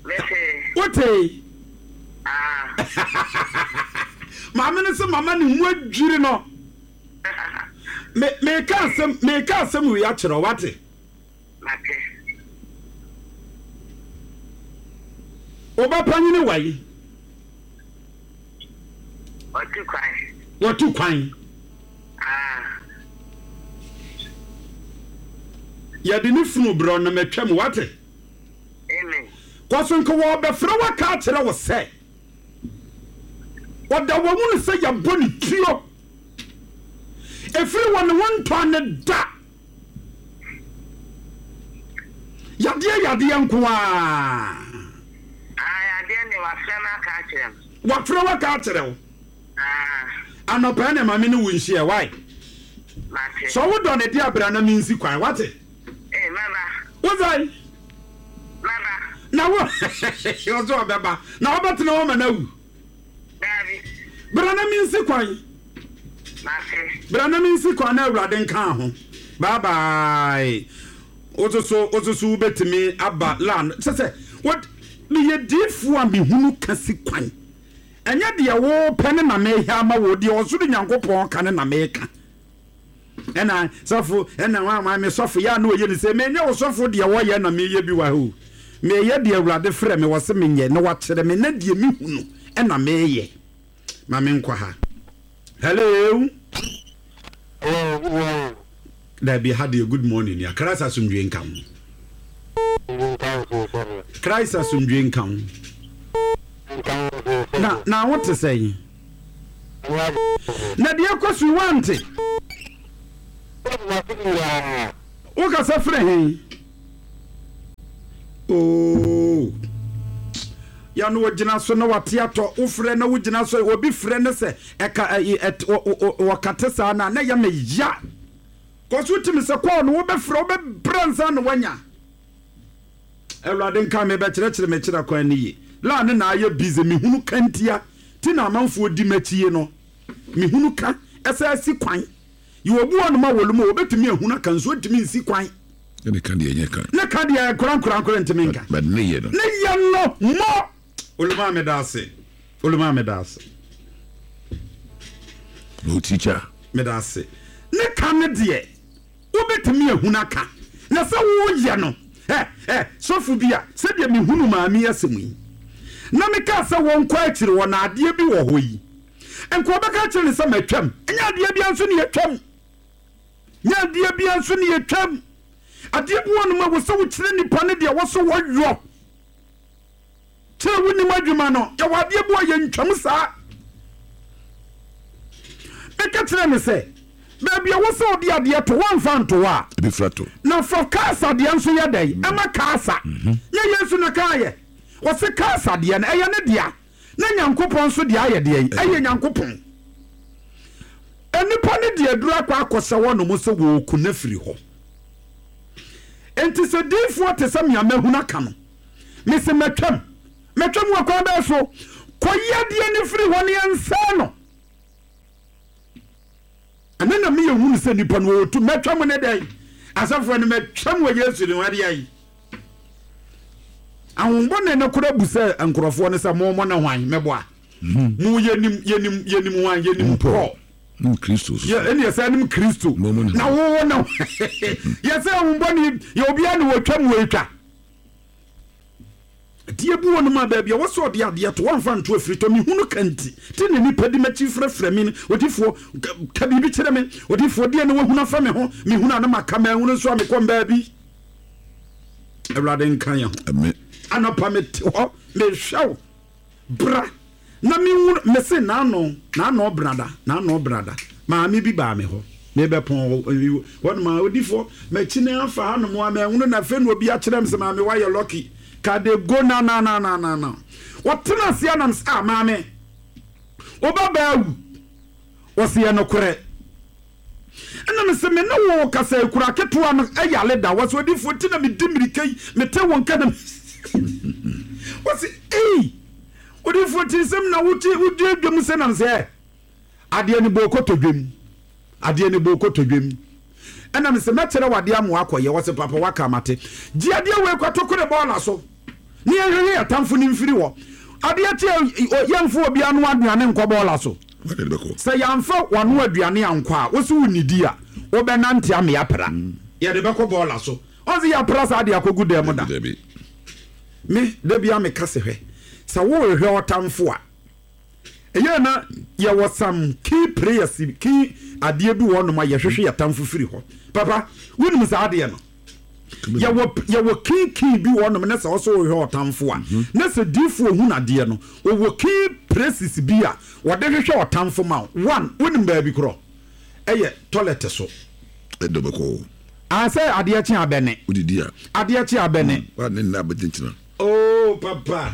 Mese. Wotee? Ah. Maame no sɛ mama ne ho adwiri no. Me meka asɛm, meka asɛm wei akyerɛ wo, wate? Mate. Ɔba panyini wayi? Ɔtu kwan. Wɔtu kwan? Ah. Yɛde ne funu brɛ no, matwam, wate? Amen. Kɔso nka wɔbɛfrɛ waka akyerɛ wo sɛ ɔda wɔ mu no sɛ yɛbɔ ne tuo ɛfiri wɔ ne ho ntɔ ne da yadeɛ, yadeɛ nko a. Ah, adeɛ ne wafrɛ me aka akyerɛ me. Wafrɛ waka akyerɛ wo? Ah. Anɔpɛ ne maame ne wo nhyia wae. Mate. Sɛ wodɔ ne de abra na mensi kwan, wate? Eh, maba. Wosae? Maba. Na wo ɔsɛ ɔbɛba na wobɛtena hɔ ma no awu? Daabi. Bra na mensi kwan. Mate. Bra na mensi kwan na Awurade nka ho. Bye bye. Wososo, wososo wobɛtumi aba land sɛ sɛ what meyɛ diifoɔ a mehunu ka si kwan. Ɛnyɛ deɛ wopɛ ne na mehɛ ama wo, deɛ ɔsoro Nyankopɔn ka ne na meka. Ɛna sɔfo ɛna wa me sɔfo yɛ a na ɔyɛ ne sɛ menyɛ wo sɔfo. Deɛ wɔyɛ na meyɛ bi wɔ ha o. Meyɛ deɛ Awurade frɛ me wɔ se menyɛ na wakyerɛ me, na deɛ mehu no ɛna meyɛ. Ma menkɔ ha. Hello. Hello, good morning. Dabi, ha deɛ good morning ya. Christ asomdwe nka ho. Nka wo so sɔfo. Christ asomdwe nka ho. Nka Na na wo te sɛn? Na deɛ kɔ so wante. Wokasa frɛ hen? Oh. Ya no wogyina so na wate atɔ wofrɛ na wogyina so obi frɛ ne sɛ ɛka wɔkate saa na na yɛ me ya. Kɔ so timi sɛ kɔɔ no wobɛfrɛ wobɛbrɛ nsa na wanya. Awurade nka me bɛkyerɛkyerɛ me kyerɛ kwan ne ye. La ne na ayɛ busy mehunu kantia ti na amanfoɔ di m'akyi no. Mehunu ka ɛsɛ asi kwan. Yɛ obi wɔ no ma wɔlu obetumi ehunu aka nso ntumi nsi kwan. Ne ka deɛ nyɛ ka. Ne ka deɛ kora nkora nkora ntumi nka. But ne yɛ no. Ne yɛ no mo. Oluma me da ase. Oluma me da ase. No teacher. Me da ase. Ne ka ne deɛ obetumi ehunu aka. Na sɛ wo yɛ no. Eh eh sɔfo bi a sɛ deɛ mehunu maame asɛm yi. Na me ka sɛ wɔn kɔ akyire wɔ na adeɛ bi wɔ hɔ yi. Nko bɛka kyerɛ ne sɛ matwam. Nya adeɛ bi nso ne yɛtwam. Nya adeɛ bi nso ne yɛtwam. Adeɛ bi wɔ no ma wɔ sɛ wokyerɛ nipa ne deɛ wɔ so wɔyɔ. Kyerɛ wo nim adwuma no, yɛwɔ adeɛ bi wɔ yɛntwam saa. Meka kyerɛ ne sɛ, baabi a wɔ sɛ wode adeɛ to, wɔmfa nto hɔ a. Ebi fra to. Na fa kaasa deɛ nso yɛ dɛn? Ɛma kaasa. Nyɛ Yesu na kaayɛ. Wɔse kaasa deɛ no, ɛyɛ ne dea. Na Nyankopɔn nso deɛ ayɛ deɛ yi, ɛyɛ Nyankopɔn. Enipa ne deɛ duru akɔ akɔsɛ hɔ nom sɛ wɔɔku na firi hɔ. Enti sɛ diifoɔ te sɛ mea mahunu aka no, mese mɛtwam. Mɛtwam wɔ kwan bɛɛ so. Kɔyi adeɛ ne firi hɔ ne yɛnsɛe no. Ɛno na meyɛ hunu sɛ nipa no wɔtu. Mɛtwam ne dɛn? Asɔfoɔ no mɛtwam wɔ Yesu ne wadeɛ yi. Ahombɔ ne kora bu sɛ nkurɔfoɔ no sɛ mo mo ne hwan mɛboa. Mo yɛnim yɛnim yɛnim hwan yɛnim Paul. Nim Kristo. Yɛ ɛne yɛ sɛ nim Kristo. Na wo wo ne yɛ sɛ ahombɔ ne yɛ obiara ne wɔtwam wɔ etwa. Deɛ bi wɔ no ma baabi a wɔsɛ ɔde adeɛ to wɔmfa nto afiri tɔ mehunu kanti ti ne nipa di m'akyi frɛfrɛ me odifoɔ ka biribi kyerɛ me odifoɔ deɛ ne wahunu afa me ho mehunu a na maka mahunu nso a mekɔ baabi. Awurade nka yɛn ho. Amen. Anɔpa mete hɔ mehwɛ wo bra na mehunu mese naano naano brada naano brada maame bi baa me hɔ mebɛpɔn hɔ ma odifoɔ m'akyi ne afa hanom a mahunu na afei na obi akyerɛ me sɛ maame wayɛ lucky ka de go na na na na na na wɔtena ase anam sɛ ah maame wobɛbaa wu wɔse yɛ nokorɛ ɛna me sɛ me ne wo kasa ekura ketewa no ɛyale da wɔse odifoɔ ti na medi mmirika yi mete wo nka na wɔse ei odifoɔ ti nsɛm na wote wodi adwam sɛ nam sɛ adeɛ ne bɔ kɔtɔ dwam adeɛ ne bɔ kɔtɔ dwam ɛna me sɛ mɛkyerɛ wadeɛ ama wakɔyɛ wɔse papa waka mate gye adeɛ wei kɔto kore bɔɔla so ne yɛhwehwɛ yɛtamfo ne mfiri hɔ adeɛ kye yɛmfo obi ano aduane nkɔ bɔɔla so sɛ yɛamfa wano aduane ankɔ a wo so wo nidi a wobɛnante ame apra yɛde bɛkɔ bɔɔla so ɔnse yɛapra saa de akɔgu dɛm mu da me da bia meka sɛ hwɛ sɛ worehwɛ ɔtamfo a ɛyɛ na yɛwɔ some key prayers key adeɛ bi wɔ nom a yɛhwehwɛ yɛtamfo firi hɔ papa wonim saa adeɛ no yɛwɔ yɛwɔ key key bi wɔ nom na sɛ ɔsɛ wohwɛ ɔtamfo a na sɛ diifoɔ hu nadeɛ no ɔwɔ key prayers bi a wɔde hwehwɛ ɔtamfo ma one wonim baabi korɔ ɛyɛ toilet so ɛdɔ bɛkɔ asɛ adeɛ kye abɛne wodidi a adeɛ kye abɛne wa ne nna abɛgyinagyina oh papa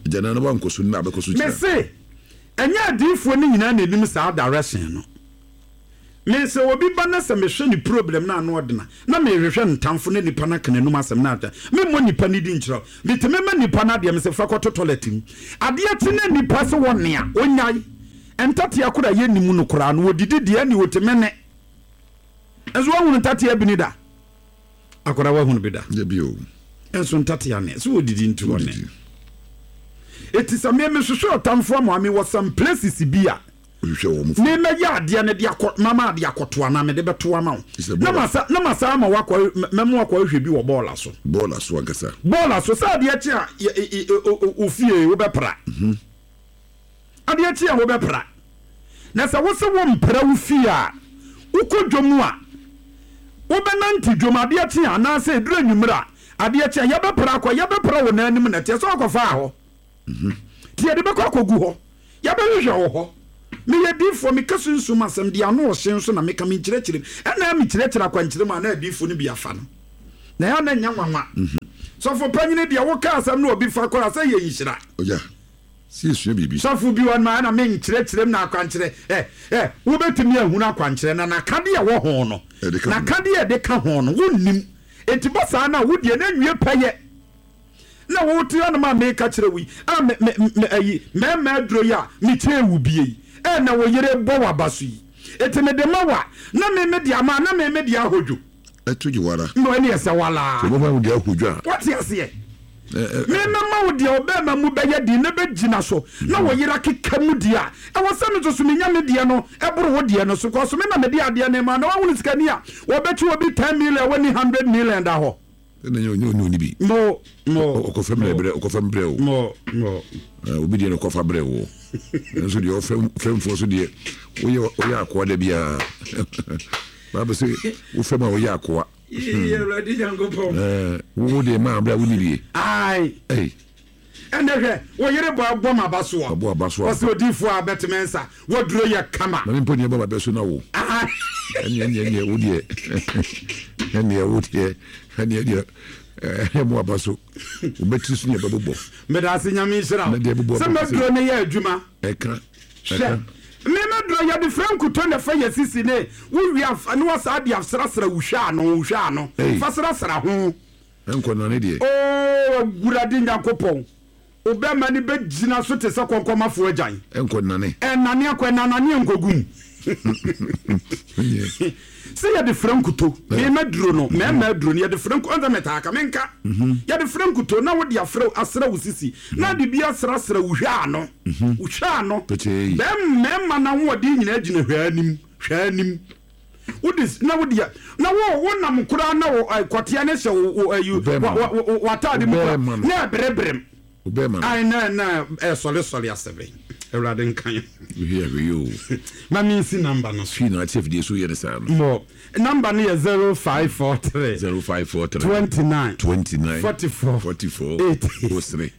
gyana no wankɔ so nna abɛkɔ so gyina mese ɛnyɛ adiifoɔ no nyinaa na anim saa direction no me sɛ obi ba na sɛ mehwɛ ne problem na ano ɔdena na mehwehwɛ ntamfo ne nipa no aka n'anum asɛm no atwa memmɔ nipa no di nkyerɛ metumi ma nipa no adeɛ mesɛ fa kɔto toilet mu adeɛ kye na nipa sɛ wɔ nea ɔnyae ntatea kora yɛnim no koraa no wɔdidi deɛ ne wɔtumi ne nso wahunu ntatea bi ni da akora wahunu bi da nso ntatea ne so wɔdidi nti wɔ ne ɛti sɛ me mehwehwɛ ɔtamfo ama me wɔ some places bi a me mɛyɛ adeɛ no de akɔ mama adeɛ akɔto anaa mede bɛto ama wo na masa na masa ama wakɔ mɛmo akɔ ahwɛ bi wɔ bɔɔla so bɔɔla so ankasa bɔɔla so sɛ adeɛ kye a ofie wobɛpra adeɛ kye a wobɛpra na sɛ wo sɛ wo mpra wo fie a wokɔ dwom a wobɛnante dwom adeɛ kye a anaasɛ ɛduru anwummerɛ a adeɛ kye a yɛbɛpra akɔ yɛbɛpra wo n'anim na ɛteɛ sɛ wakɔfaa hɔ Nti yɛde bɛkɔ akɔgu hɔ, yɛbɛhwehwɛ wɔ hɔ. Meyɛ diifoɔ, meka sunsum asɛm deɛ ano ɔhye nso na meka, menkyerɛkyerɛ mu. Ɛna mekyerɛkyerɛ akwankyerɛ mu a na adiifoɔ no bi afa no, na ɛyɛ na nyɛ nwanwa. Sɔfo panyini deɛ, woka asɛm na obi fa koraa sɛ yɛ nhyira. Ɔgya sɛ yɛsua biribi. Sɔfo bi wɔ no ma ɛna menkyerɛkyerɛ mu na akwankyerɛ ɛ ɛ wobɛtumi ahunu akwankyerɛ na nakadeɛ ɛwɔ ho no, Ɛde ka ho. Nakadeɛ ɛde ka ho no wonnim. Enti bɔ saa no a, wodeɛ na nwie pɛyɛ na wote hɔnom a meka kyerɛ wo yi a, me me me ayi mmarima aduro yi a mekyerɛ wo bie yi ɛ na wo yere bɔ w'aba so yi, eti mede ma wa na me me de ama na me me de ahodwo. Ɛto gye wara. Mbɔ ɛne ɛsɛ walaa. Sɛ wobɛma wo deɛ ahodwo a. Wate aseɛ? Memɛma wo deɛ ɔbɛrima mu bɛyɛ den na bɛgyina so na wo yere akeka mu deɛ a, ɛwɔ sɛ me nso so menya me deɛ no ɛboro wo deɛ no so kɔ so. Me na mede adeɛ no ma na wahunu sikani a wɔbɛkye obi ten million, wɔni hundred million da hɔ. Ɛna nyɛ onyɛ ɔni bi. Mo mo. Ɔkɔfɛ mbrɛ brɛ, ɔkɔfɛ mbrɛ o. Mo mo. Obi deɛ no kɔfa brɛ wo, nso deɛ ɔfɛm fɛmfoɔ so deɛ woyɛ woyɛ akoa da biara baabu sɛ wofɛm a woyɛ akoa. Yee, Awurade Nyankopɔn. Wo deɛ maa brɛ a wonni bie. Ae. Ɛnɛ hwɛ, wo yere bɔ abɔ ma ba soɔ. Ɔbɔ aba so a. Ɔsɛ odiifoɔ a bɛteme nsa waduro yɛ kama. Na mpo deɛ bɔ ba bɛ so na wo. Ɛneɛ ɛneɛ ɛneɛ wo deɛ, ɛneɛ wo deɛ, ɛneɛ deɛ ɛneɛ mo aba so wobɛtiri so ne ɛbɛbobɔ. Meda ase, Nyame nhyira wo. Na deɛ bobɔ sɛ maduro no yɛ adwuma. Ɛka. Hwɛ, me maduro yɛde frɛ nkuto na ɛfa yɛ sisi ne wowie afa ne wasaa de asrasra wo hwɛ ano, wo hwɛ ano. Ei. Fa srasra ho. Ɛnkɔ nane deɛ. Oo, Awurade Nyankopɔn, wobɛma ne bɛgyina so te sɛ kɔnkɔmafoɔ agyan. Ɛnkɔ nane. Ɛnane akɔ, ɛnanane nkɔgu mu. Sɛ yɛde frɛ nkuto, mema duro no, mmarima aduro no yɛde frɛ nkuto, ɔnsɛ metaa ka menka. Yɛde frɛ nkuto na wode afrɛ asrɛ wo sisi na de bi asrasra wo hwɛ ano, wo hwɛ ano. Pɛkyɛɛ yi. Bɛn mmarima na ahoɔden nyinaa gyina hwɛ anim, hwɛ anim. Wode na wode na wo wo nam koraa na wo ɛ, kɔteɛ ne hyɛ wo wo ayi Bɛrima no. wo wo w'ataade mu koraa Bɛrima no. na ɛbereberem. Wobɛma no. Ai, na na ɛsɔresɔre asɛbɛ. Awurade nka yɛn. Hwɛ hwɛ yi o. Ma mensi number no so. Fii na ate afidie so yɛ ne saa no. Mo number no yɛ zero five four three zero five four three twenty-nine twenty nine forty-four forty four eighty. O three.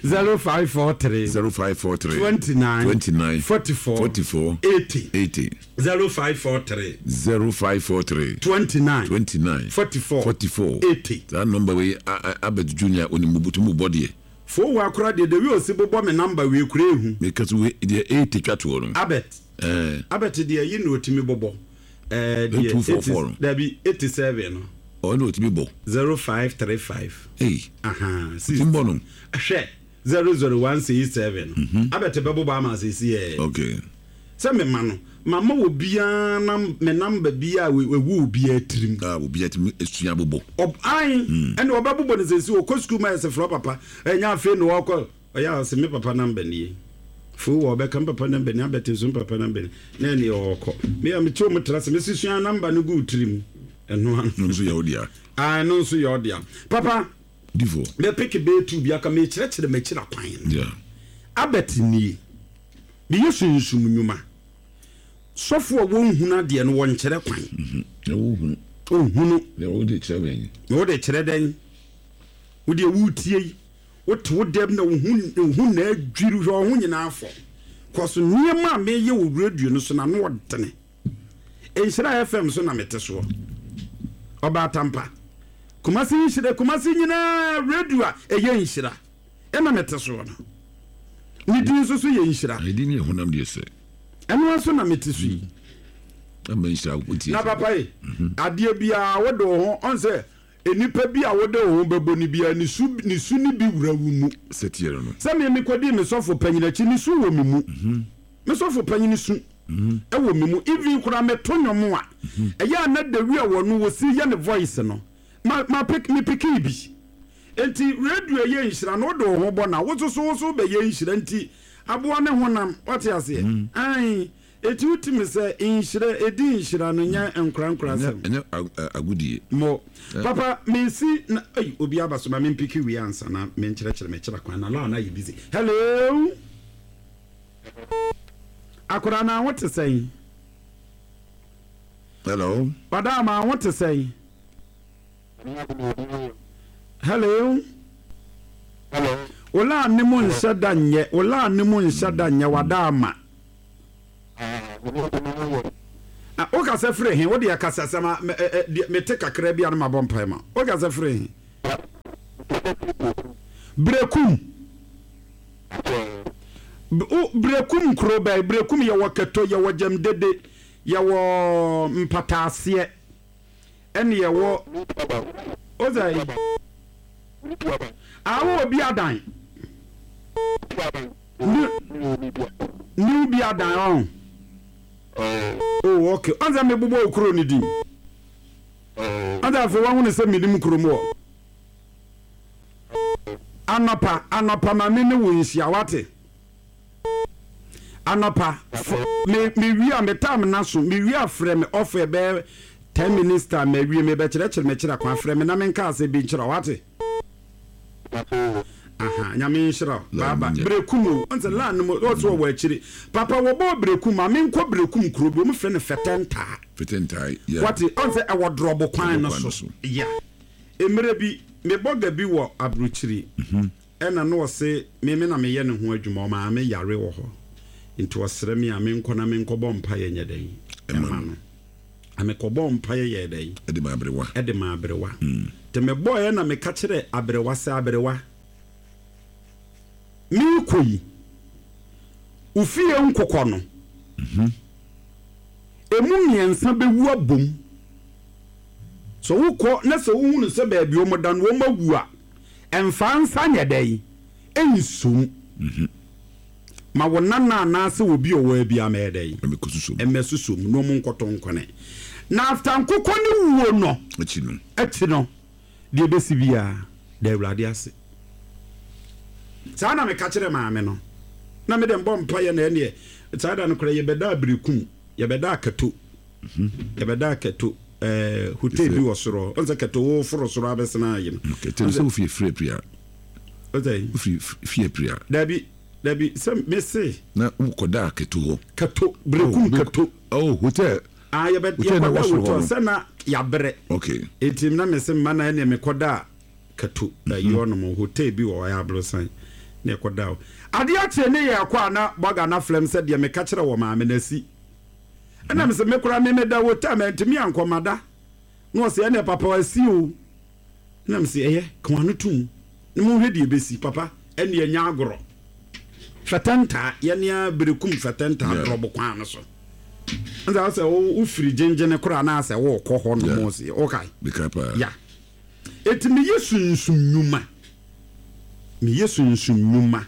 zero five four three zero five four three twenty-nine twenty nine forty-four forty four eighty. eighty. zero five four three zero five four three twenty-nine twenty nine forty-four forty four eighty. Saa number wei Abet Junior onim butu mu bɔ deɛ. Fo wa akora deɛ, de wi osi bobɔ me number wei kura ehu. Meka so wei deɛ eighty twa toɔ no. Abet. Ɛɛ. Abet deɛ yi na otimi bobɔ ɛɛ deɛ. Two four four no. Dabi, eighty-seven no. Ɔno otimi bɔ. zero five three five. Ei. Aha. Otimi bɔ no. Hwɛ, zero zero one six seven no. Abet bɛbobɔ ama asesi yɛ. Okay. Sɛ mema no mama obiara nam me number bi a ewu obiara tirim. A obiara tumi esua bobɔ. Ɔb ayi ɛna ɔbɛbobɔ ne sɛsi ɔkɔ sukuu ma ɛsɛ frɛ papa, ɛnya afei na ɔkɔ ɔyɛ a ɔsɛ me papa number nie fo wɔ ɔbɛka me papa number nie, abɛte so me papa number nie na ɛne ɔkɔ me a mete ɔmo tra sɛ mesi sua number no gu tirim ɛno ano. No nso yɛ wo dea. Ah, ɛno nso yɛ ɔdea papa. Difo. Mɛpeke bɛyɛ tu bi aka mekyerɛkyerɛ m'akyiri akwan no. Yeah. Abɛt nie, meyɛ sunsum nnwuma. Sɔfo a wɔnhunu adeɛ no wɔnkyerɛ kwan. Na wohunu. Ɔnhunu. Na wode kyerɛ bɛn? Na wode kyerɛ dɛn? Wode wotie yi, wote wo dɛm na wo ho wo ho na adwiri, hwɛ wo ho nyinaa fɔ kɔ so. Nneɛma a meyɛ wɔ radio no so na no ɔdene Nhyira F M so na mete soɔ. Ɔbaatampa Kumase, Nhyira Kumase nyinaa radio a ɛyɛ Nhyira ɛna mete soɔ no, ne din nso so yɛ Nhyira. Ɛdi ne ɛhonam deɛ sɛ. Ɛno nso na mete so yi. Ama nhyira wotie. Na papa yi, adeɛ biara wode wo ho ɔn sɛ nipa bi a wode wo ho bɛbɔ ne biara ne su ne su ne bi wura wo mu. Sɛ tiɛ no no. Sɛ me mekɔdii me sɔfo panyin akyi, ne su wɔ me mu, me sɔfo panyin su ɛwɔ me mu. Even koraa meto nnwom a ɛyɛ a na dawi a wɔno wɔsi yɛ ne voice no ma ma pick me pickii bi. Nti radio yɛ Nhyira na wode wo ho bɔ na wo soso wo so bɛyɛ nhyira. Nti aboa ne honam wate aseɛ ai. Eti wotumi sɛ nhyira edi nhyira no nyɛ nkorankora asɛm. Ɛnyɛ ag- agodie. Mo papa mensi na ei, obi aba so ma mempick wie ansa na menkyerɛkyerɛ mekyerɛ kwan na laa na yɛ busy. Hello, akwadaa na ho te sɛn? Hello. Ɔdaa ma ho te sɛn? Hello. Hello. Wo line mu nhyɛ da nyɛ, wo line mu nhyɛ da nyɛ, wada ama. Ah, me ne me ne yɛ. Ah, wokasa firi he? Wode akasa sɛ ma me- ɛ- ɛ, deɛ mete kakra bi a no mabɔ mpae ma. Wokasa firi he? Brekum. B- wo- Brekum kuro bɛn? Brekum yɛwɔ Kɛtɔ, yɛwɔ Gyamdede, yɛwɔ Mpataaseɛ, ɛne yɛwɔ ozai awo obi adan new bi adan ɔn. Oh, okay, ɔn sɛ mebobɔ wo kuro no din, ɔn sɛ afei wahunu sɛ menim kurom wɔ. Anɔpa, anɔpa ma me ne wo nhyia, wate? Anɔpa f- me mewie a, me time na so mewie a, frɛ me ɔfɛ bɛyɛ ten minutes time mawie, mebɛkyerɛkyerɛ mekyerɛ kwan. Frɛ me na menka asɛ bi nkyerɛ, wate? Aha, Nyame nhyira wo. Baaba Brekum o, ɔn sɛ line no mu ɔsɛ ɔwɔ akyiri papa, wɔbɔ Brekum ma menkɔ Brekum kuro bi, wɔn frɛ no Fɛtɛntaa. Fɛtɛntaa, yeah. Wate? Ɔn sɛ ɛwɔ drɔbo kwan no kwan so no so. Ya, mmerɛ bi mebɔ ga bi wɔ aburokyiri, ɛna na ɔse meme na meyɛ ne ho adwuma. Ɔmaa yare wɔ hɔ nti ɔsrɛ me a menkɔ na menkɔbɔ mpaeɛ nyɛ dɛn ɛma no. Amekɔbɔ mpaeɛ yɛ dɛn? Ɛde ma aberewa. Ɛde ma aberewa. Nti mebɔɔɛ na meka kyerɛ aberewa sɛ, aberewa, meekɔ yi, wo fie nkokɔ no emu mmiɛnsa bɛwu abom. Sɛ wokɔ na sɛ wohunu sɛ baabi wɔn da no wɔn awu a, ɛmfa nsa nyɛ dɛn ɛnsom ma wo nana anaasɛ obi a ɔwɔ abi amɛyɛ dɛn. Ɛmɛkɔ susom. Ɛmɛ susom na ɔmo nkɔtɔ nkɔnɛ na after nkokɔ ne wuo no akyi no, akyi no deɛ ɛbɛsi biara da Awurade ase. Saa na meka kyerɛ maame no na mede mbɔ mpayɛ na ɛneɛ saa da no koraa yɛbɛda Aberekum, yɛbɛda Akato, yɛbɛda Akato ɛɛ hotel bi wɔ soro. Ɔn sɛ Kato wo foro soro abɛsena ayi no. Okay, tɛm sɛ wofie firi Apria. Ɔsɛ wofiri fie Apria. Dabi, dabi, sɛ mese na wokɔda Akato hɔ. Kato, Berekum. Oh, Kato. Oh, hotel. Ah, yɛbɛ Hotel na yɛkɔda ɛwɔ soro hɔ hotel no. sɛ na yɛabrɛ. Okay eti na mese mma na ɛneɛ mekɔda Kato ayi hɔnom hotel bi wɔ hɔ, ɛyɛ aborosan na yɛkɔda hɔ. Adeɛ akyɛ ne yɛ kɔ a na bɔga na flɛm sɛ deɛ meka kyerɛ wɔ maame no asi, ɛna mesɛ me koraa me meda hotel ma ntumi ankɔmada na ɔsɛ ɛneɛ papa asi o, na mesɛ ɛyɛ ka no tom na monhwɛ deɛ ɛbɛsi papa. Ɛneɛ nya agorɔ Fɛtɛntaa yɛnea Berekum Fɛtɛntaa Yeah. drɔbo kwan no so nsa sɛ wo- wofiri Gyengyene koraa na sɛ wokɔ hɔ nom Yeah. sɛ wokae. Meka paa. Ya, eti meyɛ sunsum nnwuma, meyɛ sunsum nnwuma.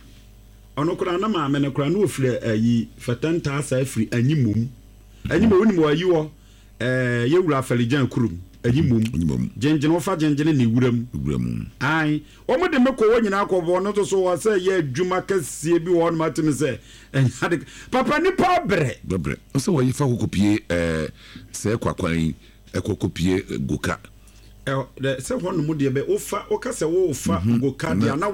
Ɔno koraa na maame no koraa na ofiri ayi Fɛtɛntaa saa firi Anyimom. Anyimom, wonim wɔ ayi wɔ ɛɛ yɛwura Afɛligyan kurom Anyimom. Anyimom. Gyengyene, wofa Gyengyene ne wura mu. Wura mu. Ae, wɔn de me kɔ hɔ nyinaa kɔ bɔ ɔno nso so wɔ sɛ yɛ adwuma kɛseɛ bi wɔ hɔnom atem sɛ ɛnya de papa nipa abrɛ. Bɛbrɛ sɛ wɔyi fa kɔkɔpie ɛɛ sɛ kwakwan yi ɛkɔ kɔpie Goka. Ɛ dɛ sɛ hɔnom deɛ bɛ wofa woka sɛ wofa Goka deɛ na